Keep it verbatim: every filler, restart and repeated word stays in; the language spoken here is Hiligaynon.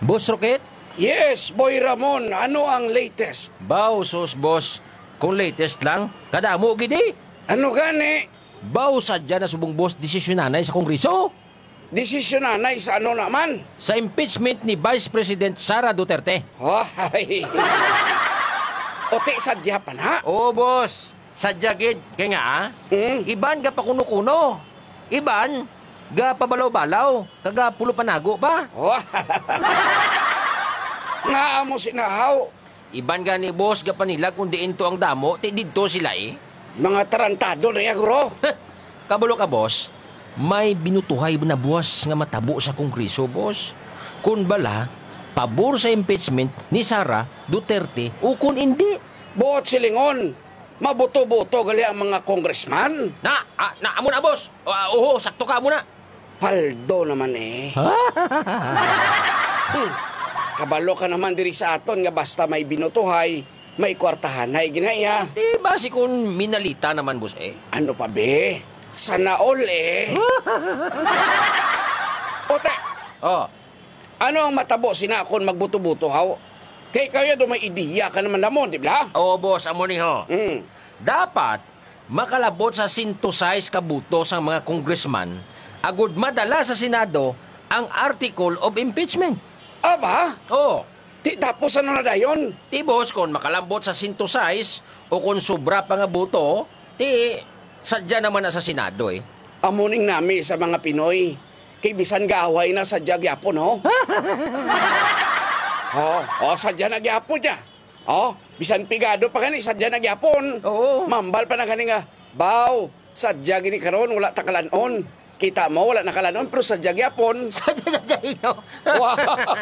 Boss Rocket? Yes, Boy Ramon, ano ang latest? Baw, sus, boss. Kung latest lang, kadamo gid eh. Ano gani? Baw, sadya na subong, boss, desisyon nanay sa Kongreso. Desisyon nanay sa ano naman? Sa impeachment ni Vice President Sara Duterte. Ay. Uti sadya pa na? Oo, boss. Sadya gid. Kay nga, ah, Hmm? iban ga pakuno-kuno. Iban ga pabalaw-balaw. Kag ga pulo panago pa. Oh. Nga amo sinahaw. Iban gani, boss, ga panilag kung diin to ang damo, ti didto sila eh. Mga tarantado na ya, guro. Kabalo ka, boss, may binutuhay na buwas nga matabo sa Kongreso, boss. Kun bala, pabor sa impeachment ni Sara Duterte o kun indi. Buot silingon, mabuto-buto gali ang mga congressman. Na, ah, na, amo na, boss. Ah, oho, sakto ka, amo na. Paldo naman eh. Hmm. Kabalo ka naman diri sa aton nga basta may binutuhay, may kwartahanay ginaya. Di ba si kun minalita naman, boss, eh? Ano pa, be? Sana all, eh. Ote, Oh, ano ang matabo sina kon magbuto-buto, haw? Kay kayo do may ideya ka naman namon, di ba? Oo, boss, amo ni ho. Hmm. Dapat makalabot sa sento sais ka buto sang mga congressman agud madala sa Senado ang Article of Impeachment. Aba? Oo. Ti tapos ano na dayon? Ti, boss, kon makalambot sa sento sais o kon sobra pa nga buto, ti sadya naman na sa Senado, eh. Amo ning nami sa mga Pinoy. Kay bisan gaaway na, sadya gyapon, ho? Oh, oh, sadya na gyapon niya. Oh, bisan pigado pa gani, sadya na gyapon. Oo. Mambal pa na gani nga, "Baw, sadya gini karon, wala ta kalan-on." Kita mo, wala na kalan-on, pero sadya gyapon. Sadya, sadya, ino? Wa-,